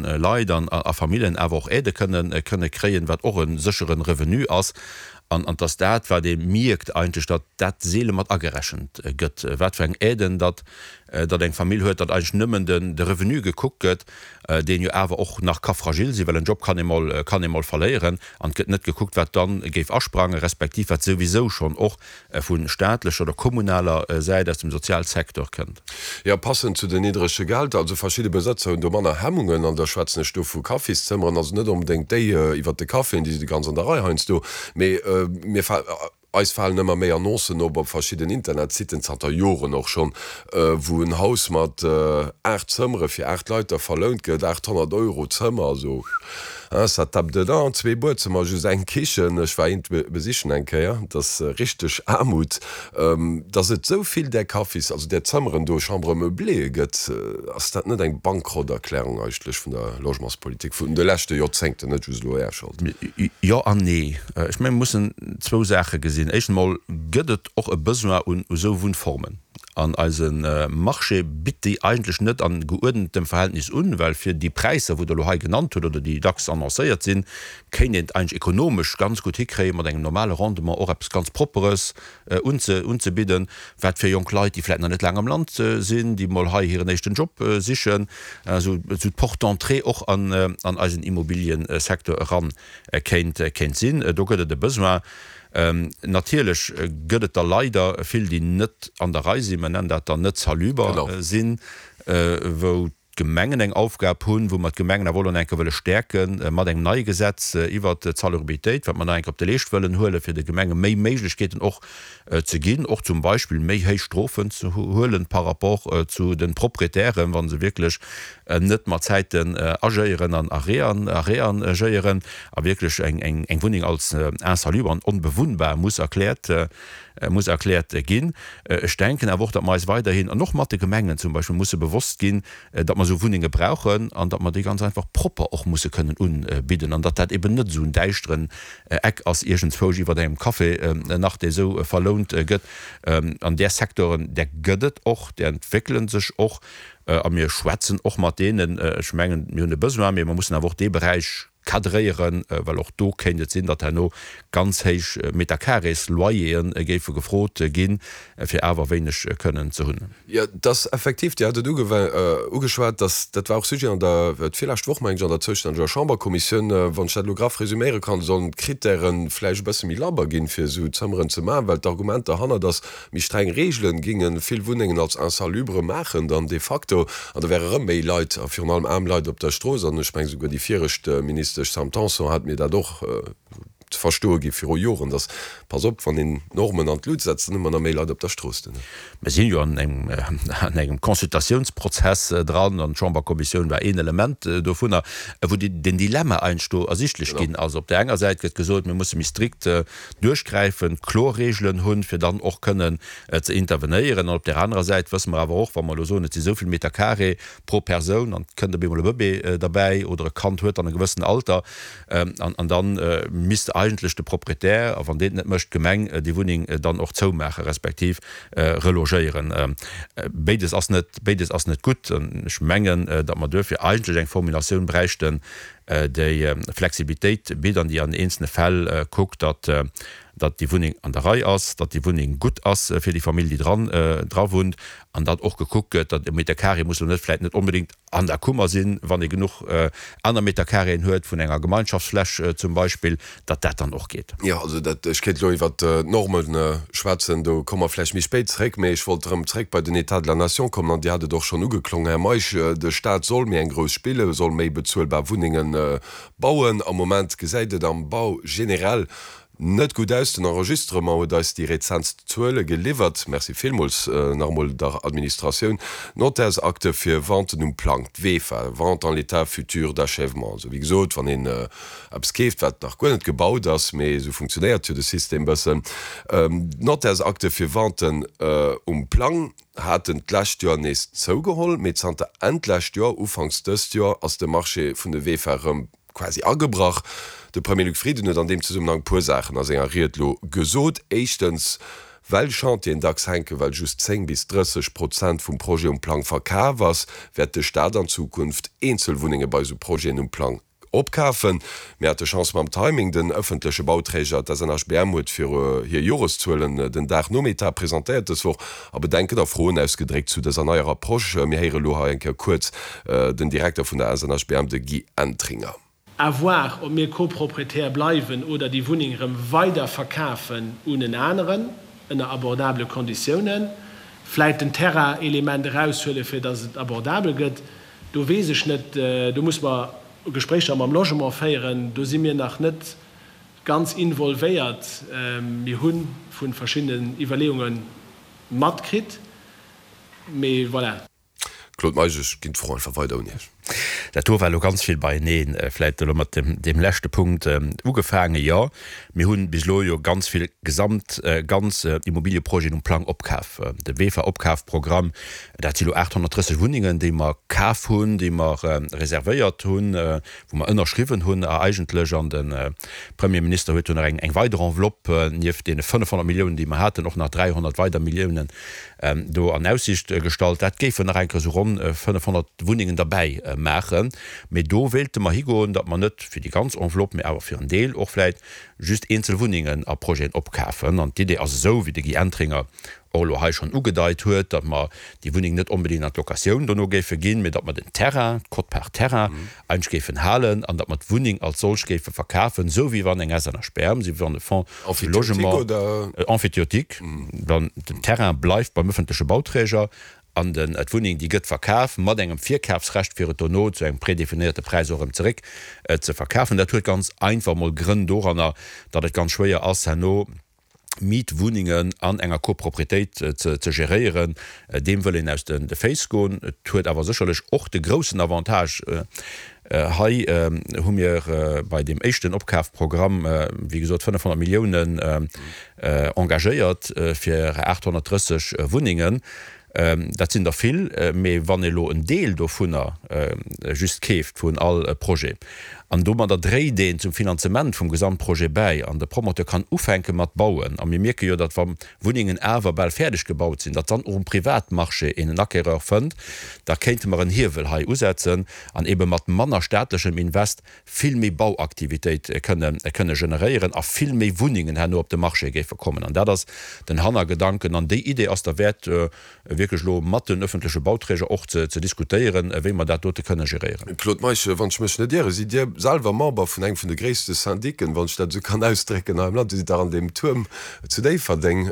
Leit an a Familljen awer och Aidë kënnen kënne kréien, wat och e séchere Revenu ass, an an dass dat, wat ee mierkt eigentlech, datt dat seele mat agerechent gëtt, wat fir eng Aiden datt datt eng Famill huet, datt eigentlech nëmmen den de Revenu gekuckt gëtt, deen jo awer och nach ka fragil sinn, well en Job kann ee mol kann ee mol verléieren, an et gëtt net gekuckt, wat dann géif asprangen, respektiv wat souwisou schonn och vu staatlecher oder kommunaler Säit aus dem Sozialsecteur kënnt. Jo, passend zu den niddrege Gehälter. Also verschidde Besëtzer hunn do manner Hemmungen, an da schwätzen ech do vu Kaffiszëmmeren, also net onbedéngt déi iwwert de Caféen, déi si ganz an der Rei heiansdo, mee mir eis falen ëmmer méi Annoncen op op verschidden Internetsitten, zanter Joren och schonn, wou en Haus mat 8 Zëmmere fir 8 Leit da verlount gëtt, 800 Euro d'Zëmmer, also hein, ça tape dedans, zwee Buedzëmmer, just eng Kichen, ech war eent besichen eng Kéier, dat ass richteg Aarmut. Dass et esou vill där Kaffis, also där Zëmmeren do, Chambres meublées gëtt, ass dat net eng Bankrotterklärung eigentlech vun der Logementspolitik vun de leschte Joerzéngten, net just elo Är Schold? Jo an nee. Ech mengen, mir mussen zwou Saache gesinn. Éischt emol gëtt et och e Besoin un esou Wunnformen. An eise Marché bitt déi eigentlech net an geuerdentem Verhältnis un, well fir déi Präisser, wou Der elo hei genannt hutt oder déi dacks annoncéiert sinn, kéint een et eigentlech ekonomesch ganz gutt hikréien, mat engem normale Rendement och eppes ganz Propperes unzebidden, wat fir jonk Leit, déi vläicht nach net laang am Land sinn, déi mol hei hiren éischten Job sichen, esou d'Porte d'entrée och an eisen Immobiliësecteur eran kéint sinn. Do gëtt et e Besoin. Natierlech gëtt et der leider vill, déi net an der Rei sinn, mer nennen dat dann net saluber sinn, wou d'Gemengen eng Aufgab hunn, wou mer d'Gemengen awer och elo nach eng Kéier wëlle stäerke mat engem neie Gesetz iwwert d'Salubritéit, wat mer nach eng Kéier op de Leescht wëllen huelen, fir de Gemenge méi Méiglechkeeten och ze ginn, och zum Beispill méi héich Strofen ze huelen par rapport zu de Proprietären, wa se wierklech net mat Zäiten agéieren an a reagéieren a wierklech eng Wunneng als insalubre an onbewunnbar muss erkläert muss erkläert ginn. Ech denken awer och, datt mer eis weiderhin, an och mat de Gemengen zum Beispill, musse bewosst ginn, datt mer esou Wunnenge brauchen an datt mer déi ganz einfach propper och musse kënnen unbidden an datt dat eben net esou en däischteren Eck ass iergendzwousch iwwert engem Café nach, dee esou verlount gëtt. An där Secteuren, där gëtt et och, där entwéckele sech och a mir schwätzen och mat deenen. Ech mengen, mir hunn e Besoin, mee mer mussen awer och dee Beräich cadréieren, well och do kéint et sinn, datt herno ganz héich Metercarrés-Loyere géife gefrot ginn, fir awer wéineg kënnen ze hunn. Jo, dass effektiv, Dir hat et ugeschwat, dass, dat war och Sujet an der, d'virlescht Woch meng ech, an der zoustänneger Chamberkommissioun, wann ech dat elo graff resüméiere kann, sollen d'Krittäre vläicht e bësse méi labber ginn, fir esou Zëmmeren ze maachen, well d'Argument derhannert ass, méi streng Reegelen géinge vill Wunnengen als insalubre maachen dann de facto, an da wäre rëm méi Leit, a virun allem aarm Leit op der Strooss. An ech mengen, souguer déi viregt Ministesch Sam Tanson hat mir dat och ze verstoe gi viru Joren, dass, pass op, wann een Normen an d'Lut setzt, dann hu mer nach méi Leit op der Strooss duerno. Mir sinn jo an engem Consultatiounsprozess dran, an d'Chamberkommissioun war een Element dovunner, wou den Dilemma eigentlech do ersichtlech ginn ass. Op där enger Säit gëtt gesot, mir musse méi strikt duerchgräifen, kloer Regeln hunn, fir dann och kënnen ze intervenéieren. An op där anerer Säit wësse mer awer och, wa mer elo soen, et si sou vill Meter carré pro Persoun an et kënnt op eemol e Bëbee derbäi oder e Kand huet dann e gewëssen Alter, an da misst eigentlech de Proprietär, a wann deen et net mécht, d'Gemeng déi Wunneng dann och zoumaache respektiv relogéieren. Béides ass net, béides ass net gutt. An ech mengen, datt mer duerfir eigentlech eng Formulatioun bräichten, déi Flexibilitéit bitt an déi an eenzelne Fäll kuckt, datt datt déi Wunneng an der Rei ass, datt déi Wunneng gutt ass fir déi Famill, déi dran dra wunnt, an datt och gekuckt gëtt, datt e Meter carré muss elo net vläicht net onbedéngt an der Kummer sinn, wann ee genuch aner Meter carréen huet vun enger Gemeinschaftsfläch zum Beispill, datt dat dann och geet. Jo, also dat, ech kéint elo iwwert d'Norme schwätzen, do komme mer vläicht méi spéit zréck, mee ech wollt erëm zréck bei den État de la nation kommen an Dir hat et och schonn ugeklongen, Här Meisch, de Stat soll méi eng grouss spillen, soll méi bezuelbar Wunnenge bauen. Am Moment gesäit et am Bau generell Net gutt aus. Den Enregistrement huet eis déi rezentst Zuele geliwwert. Merci villmools nach emol der Administratioun. D'Notairsakte fir Venten um Plang, d'VEFA, Vente en l'état futur d'achèvement. Also wéi gesot, wann een eppes keeft, wat nach guer net gebaut ass, mee esou funktionéiert jo de System bëssen. D'Notairsakte fir Venten um Plang haten d'lescht Joer nees zougeholl, mee zanter Enn d'lescht Joer, ufanks dëst Joer ass de Marché vun de VEFA erëm quasi agebrach. De Premier Luc Frieden huet an deem Zesummenhang puer Saachen a senger Ried lo gesot. Éischtens. Well Chantieren dacks hänken, well just 10 bis 30 Prozent vum Projet um Plang verkaf ass, wäert de Staat an Zukunft eenzel Wunnenge bei esou Projeten um Plang opkafen. Mir hate Chance mam Timing, Den ëffentleche Bauträger, d'SNHBM, huet fir hir Joreszuelen den Dag nom Etat presentéiert dës Woch a Bedenken a Froen ausgedréckt zu dëser neier Approche. Mir héiere lo hei eng Kéier kuerz den Direkter vun der SNHBM, de Guy Entringer. À voir, ob mir Copropriétaire bleiwen oder déi Wunneng erëm weider verkafen un en aneren, ënner abordabele Konditiounen. Vläit den Terrain-Element eraushuelen, fir datt et abordabel gëtt. Do weess ech net, do muss mer Gespréicher mam Logement féieren. Do si mir nach net ganz involvéiert. Mir hu vu verschiddenen Iwwerleeunge matkritt, mee voilà. Claude Meisch, Ech ginn d'Fro einfach weider un Iech. Dat do war elo ganz vill beieneen. Vläicht elo mat deem leschte Punkt ugefaangen. Jo, mir hu bis elo jo ganz vill gesamt, ganz Immobilieprojeten um Plang opkaf. De VEFA-Opkafprogramm, dat si elo 830 Wunnengen, déi mer kaf hunn, déi mer reservéiert hunn, wou mer ënnerschriwwen hunn a eigentlech, an de Premierminister huet jo nach eng weider Enveloppe nieft deene 500 Milliounen, déi mer haten, och nach 300 weider Milliounen do an Aussicht gestallt. Dat géifen nach eng Kéier esou ronn 500 Wunnengen derbäi maachen. Mee do wéilte mer higoen, datt mer net fir déi ganz Enveloppe, mee awer fir en Deel och vläicht just eenzel Wunnengen a Projeten opkafen. An d'Idee ass esou, wéi de Guy Entringer och elo hei schonn ugedeit huet, datt mer déi Wunneng net onbedéngt an d'Locatioun dono géife ginn, mee datt mer den Terrain, d'Quote-part Terrain, eigentlech géifen halen an datt mer d'Wunneng als solch géife verkafen, esou wéi wann eng SNHBM, esou wéi wann e Fonds de logement emphytéotique, dann den Terrain bleift beim öffentleche Bauträger an den d'Wunneng, déi gëtt verkaf mat engem Virkafsrecht, fir et dono zu engem prédéfinéierte Präis och erëm zeréck ze verkafen. Dat huet ganz einfach emol Grënn doranner, datt et ganz schwéier ass herno, Mietwunnengen an enger Copropriétéit ze geréieren, deem wëll een aus de Féiss goen. Et huet awer sécherlech och de groussen Avantage, hei hu mir bei deem éischten Opkafprogramm, wéi gesot, 500 Milliounen engagéiert fir 830 Wunnengen. Dat sinn der vill, mee wann ee lo en Deel dovunner just keeft vun all Projet an domadder dréit een zum Finanzement vum Gesamtprojet bäi an de Promoteur kann ufänke mat bauen a mir mierke jo, datt wa Wunnengen awer bal fäerdeg gebaut sinn, datt dann och um Privatmarché een en Acquéreur fënnt, da kéinte mer en Hiewel hei usetzen an ebe mat manner staatlechem Invest vill méi Bauaktivitéit kënne kënne generéieren a vill méi Wunnengen herno op de Marché géife kommen. An dat ass den Hannergedanken. An déi Idee ass derwäert, wierklech elo mat den öffentleche Bauträger och ze ze diskutéieren, wéi mer dat dote kënne geréieren. Claude Meisch, wann ech mech net ieren, sidd Dir selwer Member vun engem vun de gréisste Syndiquen, wann ech dat esou kann ausdrécken, hei am Land. Dir sidd dach an deem Tuerm zu Déifferdeng.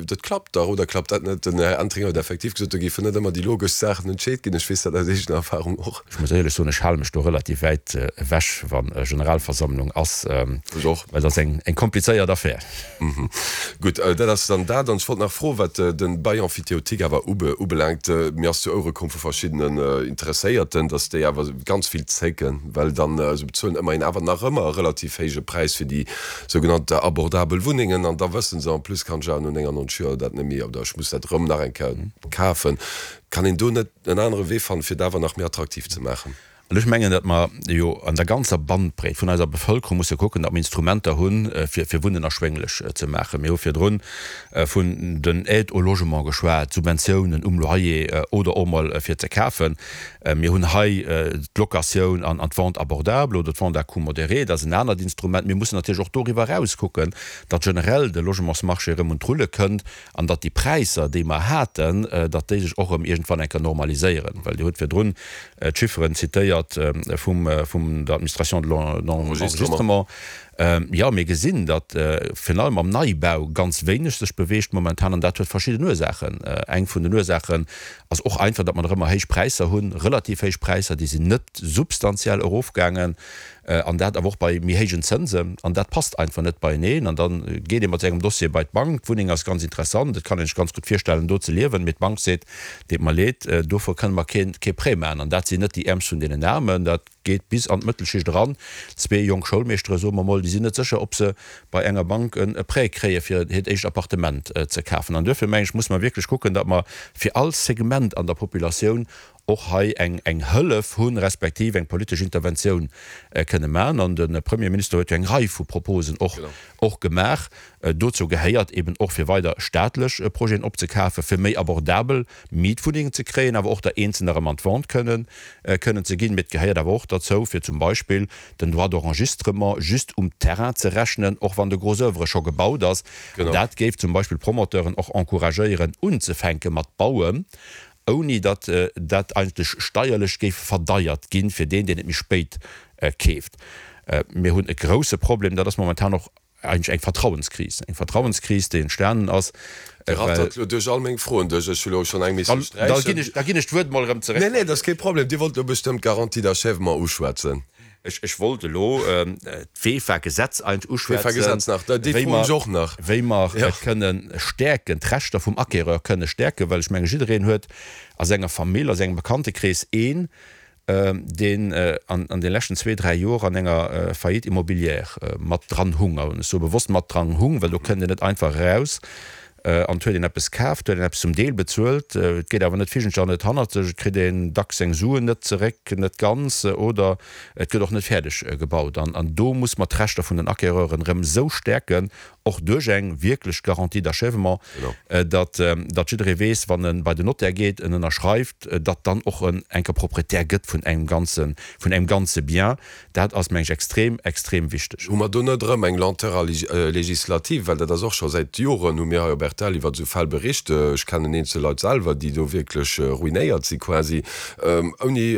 Dat klappt dach, oder klappt dat net? Den Här Entringer huet effektiv gesot, do géifen net ëmmer déi logesch Saachen entscheet ginn. Ech weess dat aus eegener Erfahrung och. Ech muss éierlech soen, ech hale mech do relativ wäit ewech, wa Generalversammlung ass, well dat ass eng komplizéiert Affär. Gutt, dat ass dann dat. An ech wollt nach froen, wat de Bail emphytéotique awer ubelaangt. Mir ass zu Ouere komm vu verschiddenen Interesséierten, datt déi awer ganz vill zécken, well dann, se bezuelen ëmmerhin awer nach ëmmer e relativ héije Präis fir déi sougenannt abordabel Wunnengen. An da wësse se en plus, kann ech awer no 99 Joer dat net méi, oder ech muss dat erëm nach eng Kéier kafen. Kann een do net en anere Wee fannen, fir et awer nach méi attraktiv ze maachen? An ech mengen, datt mer jo an der ganzer Bandbreet vun eiser Bevëlkerung musse kucken, datt mer Instrumenter hunn, fir fir Wunnen erschwénglech ze maachen. Mir hu virdrun vun den Aides au logement geschwat, Subventiounen um Loyer oder och mol fir ze kafen. Mir hunn hei d'Locatioun an d'Vente abordable oder d'Vente à coût modéré, dat ass en anert Instrument. Mir mussen natierlech och doriwwer eraus kucken, datt generell de Logementsmarché erëm un d'Rulle kënnt An datt déi Präisser, déi mer haten, datt déi sech och erëm iergendwann eng Kéier normaliséieren. Well Dir hutt virdrun d'Chifferen zitéiert vum, vum der Administration de l'enregistrement. Jo, mir gesinn, datt virun allem am Neibau ganz wéineg sech beweegt momentan. An dat huet verschidden Ursaachen. Eng vun den Ursaachen ass och einfach, datt mer nach ëmmer héich Präisser hunn, relativ héich Präisser, déi sinn net substantiell erofgaangen. An dat awer och bei méi héijen Zënsen. An dat passt einfach net beieneen. An da geet ee mat sengem Dossier bei d'Bank. D'Wunneng ass ganz interessant, et kann een sech ganz gutt virstellen, do ze liewen. Mee d'Bank seet, Deet mer leed, dofir kënne mer kee Prêt maachen. An dat sinn net déi Äermst vun deenen Aarmen. Dat geet bis an d'Mëttelschicht eran. Zwee jonk Schoulmeeschtere, soe mer mol, déi sinn net sécher, ob se bei enger Bank e Prêt kréie fir hiert éischt Appartement ze kafen. An duerfir, mengen ech, musse mer wierklech kucken, datt mer fir all Segment an der Populatioun. och hei eng eng Hëllef hunn, respektiv eng politesch Interventioun kënne maachen. An de Premierminister huet jo eng Rei vu Proposen och och gemaach. Dozou gehéiert eben och fir weider staatlech Projeten opzekafen, fir méi abordabel Mietwunnengen ze kréien, awer och der Eenzelner erëm an d'Vente kënnen kënnen ze ginn. Mee et gehéiert awer och derzou, fir zum Beispill den Droit d'enregistrement just um Terrain ze rechnen, och wann de Gros oeuvre scho gebaut ass. An dat géif zum Beispill d'Promoteuren och encouragéieren unzefänke mat bauen, ouni datt dat eigentlech steierlech géif verdeiert ginn fir deen, deen et méi spéit keeft. Mir hunn e grouse Problem, dat ass momentan och eigentlech eng Vertrauenskris, eng Vertrauenskris, déi entstanen ass, Dir well. Rattert elo duerch all meng Froen duerch. Ech hu elo schonn eng misse sträichen. Da ginn ech d'Wuert mol erëm zeréck. Nee, nee, dat ass kee Problem. Dir wollt elo bestëmmt d'Garantie d'achèvement uschwätzen. Ech wollt elo d'VEFA-Gesetz eigentlech uschwätzen, D'VEFA-Gesetz nach, déi Fro hunn ech och nach. wéi mer et kënne stäerken, d'Rechter vum Acquéreur kënne stäerken, well ech menge jiddereen huet a senger Famill, a sengem Bekanntekrees een, deen an de leschten zwee, dräi Joer an enger Faillite immobilière mat dran hung. An ech soe bewosst mat dran hung, well do kënnt een net einfach eraus. An et huet een eppes kaf, et huet een eppes zum Deel bezuelt, et geet awer net virgentlech an net hannerzeg, et kritt een dacks seng Suen net zeréck, net ganz, oder et gëtt och net fäerdeg gebaut. An do muss mer d'Rechter vun den Acquéreuren erëm esou stäerken, och duerch eng wierklech Garantie d'achèvement, datt datt jidderee weess, wann e bei den Notaire geet, en ënnerschreift, datt dann och en enker Proprietär gëtt vun engem ganze, vun engem ganze Bien. Dat ass, meng ech, extrem, extrem wichteg. Hu mer do net erëm eng Lenteur législative? Well dat ass och scho säit Joren, hu mir hei op rtl iwwer esou Fäll bericht. Ech kennen eenzel Leit selwer, déi do wierklech ruinéiert si quasi. Ouni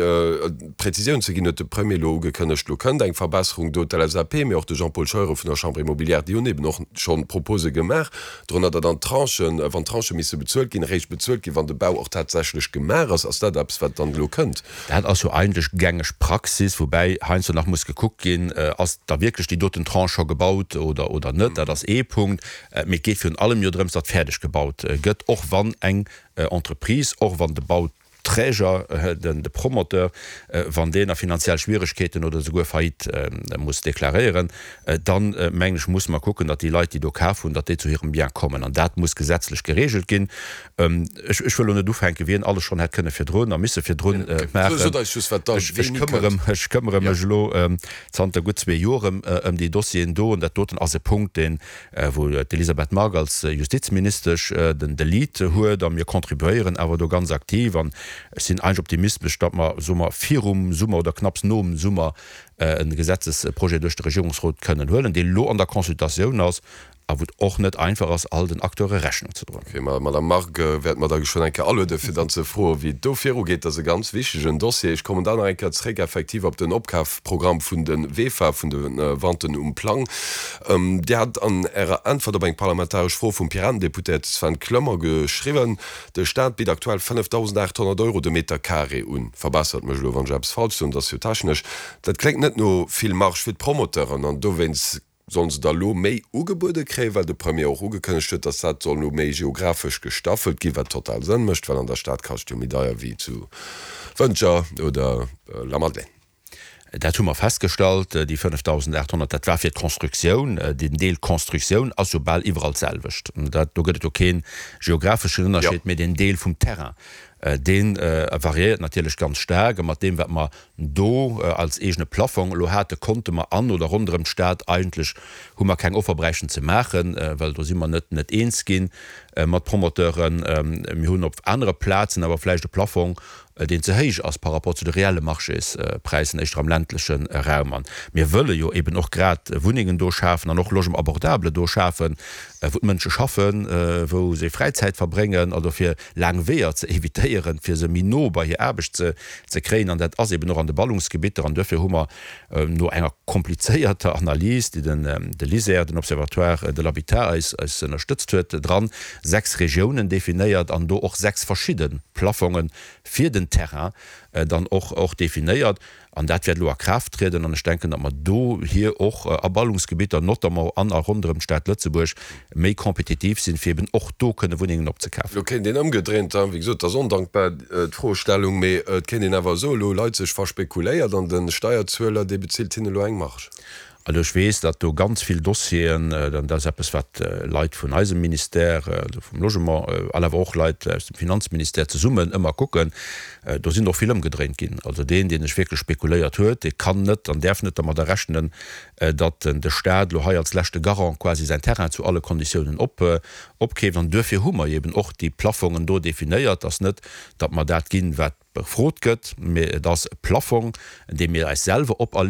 Präzisioun ze ginn, huet de Premier elo ugekënnegt, elo kënnt eng Verbesserung do. D'LSAP, mee och de Jean-Paul Scheuren vun der Chambre immobilière, déi hunn eben och scho Propose gemaach, dorënner datt an Tranchen, wann Tranchë misse bezuelt ginn, eréischt bezuelt ginn, wann de Bau och tatsächlech gemaach ass. Ass dat eppes, wat dann elo kënnt? Dat ass jo eigentlech gängeg Praxis, woubäi heiansdo nach muss gekuckt ginn, ass da wierklech déi doten Tranche scho gebaut oder oder net. Dat ass ee Punkt. Mee et geet virun allem jo drëms, datt fäerdeg gebaut gëtt, och wann eng Entreprise, och wann de Bauträger, de Promoteur, wann deen a finanziell Schwieregkeeten oder esouguer Faillite muss deklaréieren, dann, mengen ech, musse mer kucken, datt déi Leit, déi do kaf hunn, datt déi zu hirem Bien kommen. An dat muss gesetzlech geregelt ginn. Ech wëll elo net ufänken, wien alles schonn hätt kënne virdrun a misse virdrun maachen. Ech këmmere mech elo zanter gutt zwee Joer ëm déi Dossieren do. An dat doten ass e Punkt, deen, wou d'Elisabeth Margue als Justizministesch den de Lead huet. A mir contribuéieren awer do ganz aktiv. An ech sinn eigentlech optimistesch, datt mer, soe mer, virum Summer oder knapps nom Summer e Gesetzesprojet duerch de Regierungsrot kënnen huelen, dee lo an der Consultatioun ass a wou et och net einfach ass, all den Acteure Rechnung ze droen. Ok, ma Madame Margue wäerte mer da geschwënn eng Kéier alueden, fir dann ze froen, wéi et do virugeet. Dat ass e ganz wichtegen Dossier. Ech kommen dann nach eng Kéier zréck effektiv op den Opkafprogramm vun de VEFA, vun de Venten um Plang. Dir hat an Ärer Äntwert op eng parlamentaresch Fro vum Piratendeputéierte Sven Clement geschriwwen, De Staat bitt aktuell 5.800 Euro de Meter carré un. Verbessert mech elo, wann ech eppes falsch soen, dat ass jo technesch. Dat kléngt net no vill Marge fir d'Promoteuren an dowéinst Sollen se da lo méi ugebuede kréien, well de Premier och ugekënnegt huet, datt dat soll lo méi geographesch gestaffelt ginn, wat total Sënn mécht, well an der Stad kascht jo méi deier wéi zu Wëntger oder Lamadelaine. Dat hu mer festgestallt, déi 5.800, dat war fir d'Constructioun. Den Deel Constructioun ass jo bal iwwerall d'selwecht. Dat, do gëtt et jo kee geographeschen Ënnerscheed, mee den Deel vum Terrain, dee variéiert natierlech ganz staark. A mat deem, wat mer do als eegene Plaffong elo hate, konnte mer an oder ronderëm d'Stad eigentlech, hu mer keng Offer bräichten ze maachen, well do si mer net net eens gi mat Promoteuren. Mir hunn op anere Plazen awer vläicht e Plaffong, deen ze héich ass par rapport zu de reelle Marchéspräisen, éischter am ländleche Raum. An mir wëlle jo eben och grad Wunnengen do schafen an och Logement abordable do schafen, wou d'Mënsche schaffen, wou se Fräizäit verbréngen, also fir laang Weeër ze evitéieren, fir se méi no bei hir Aarbecht ze ze kréien. An dat ass eben och an de Ballungsgebitter. An duerfir hu mer no enger komplizéierter Analys, déi den de LISER, den Observatoire de l'habitat, eis eis ënnerstëtzt huet dran, sechs Regiounen definéiert an do och sechs verschidde Plafonge fir den Terrain dann och och definéiert. An dat wäert elo a Kraaft trieden. An ech denken, datt mer dohier och a Ballungsgebitter, notamment an a ronderëm d'Stad Lëtzebuerg, méi kompetitiv sinn, fir eben och do kënne Wunnengen opzekafen. Elo kéint een ëmgedréint, wéi gesot, et ass ondankbar, d'Froestellung, mee et kéint een awer soen, elo hu Leit sech verspekuléiert an de Steierzueler, dee bezilt hinne elo eng Marge. Also ech weess, datt do ganz vill Dossieren, dat ass eppes wat Leit vun eisem Ministère, also vum Logement, an awer och Leit aus dem Finanzministère zesummen ëmmer kucken, do sinn och vill ëmgedréint ginn. Also deen, deen sech wierklech spekuléiert huet, dee kann net an däerf net dermadder rechnen, datt de Stat elo hei als leschte Garant quasi säin Terrain zu alle Konditiounen opkeeft. An duerfir hu mer eben och déi Plafongen do definéiert, dass net, datt mer dat ginn, wat gefrot gëtt, mee et ass e Plafong, dee mir eis selwer operleeën.